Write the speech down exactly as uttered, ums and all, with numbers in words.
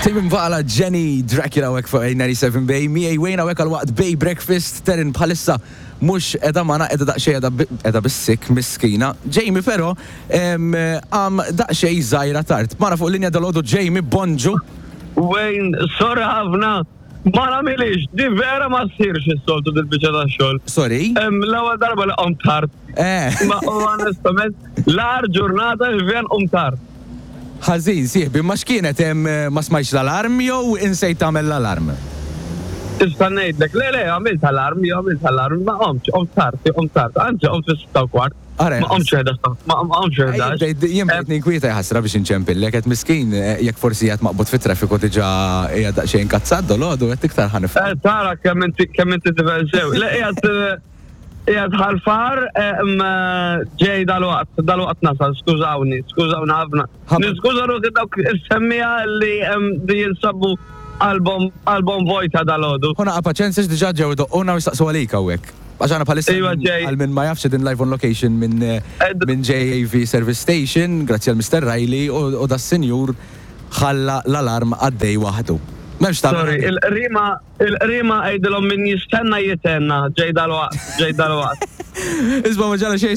Tame Impala, Jenny Dracula hawnhekk fuq A ninety-seven Bay, miegħi Wayne hawnhekk għal waqt Bay Breakfast. Terin bħalissa mhux qiegħda magħna, qiegħda daqsxejn qiegħda bis-sick, miskina. Jamie però għam daqsxejn żgħira tard. Magħna fuq linja dalgħodu Jamie, bonġu. Wayne, sorry ħafna, ma nagħmilhiex, di vera ma ssirx is-soltu dil-biċċa ta' xogħol. Sorry. L-ewwel darba li qomt tard. Eh. Ma onestament, l-agħar ġurnata li vjen qomt tard. Ħażin, sieħbi, ma x'kienet hemm, ma smajx l-alarm jew insejt tagħmel l-alarm? Tista' ngħidlek, le le, għamilt alarm, jew għamilt alarm, ma qomtx, qomt tard, qomt tard, anzi qomt fis-sitta u kwart. Ara, Ma qomtx ħdax, ma qomtx ħdax. Jien bdejt ninkwieta ħasra biex inċempillek, qed miskin eh, jekk forsi qed maqbud fit-traffiku diġà qiegħed daqsxejn inkazzat dalgħodu qed iktar ħa nifhem. Eh, Tara kemm inti kemm inti tifel sew. Le qiegħed eh, qiegħed Ħal Far, eh, ġej dalwaqt, dalwaqt nasal, skużawni, skużawni ħafna. Ħabba- Niskuża ruħi dawk is-semmiegħa li em, li jinsabu qalbhom qalbhom vojta dalgħodu. Ħu naqra paċenzja, diġà ġew idoqquna u jistaqsu għalik hawnhekk. Għax aħna bħalissa Iva, minn- ġej. għal min ma jafx din live on location minn eh, Ed- minn J A V Service Station, grazzi għal Mister Riley u u da sinjur ħalla l-alarm għaddej waħdu. M'hemmx ta' Sorry, il-rima il-rima għidilhom min jistenna jitenna, ġej dalwaqt, ġej dalwaqt. Isma', ma ġara xejn.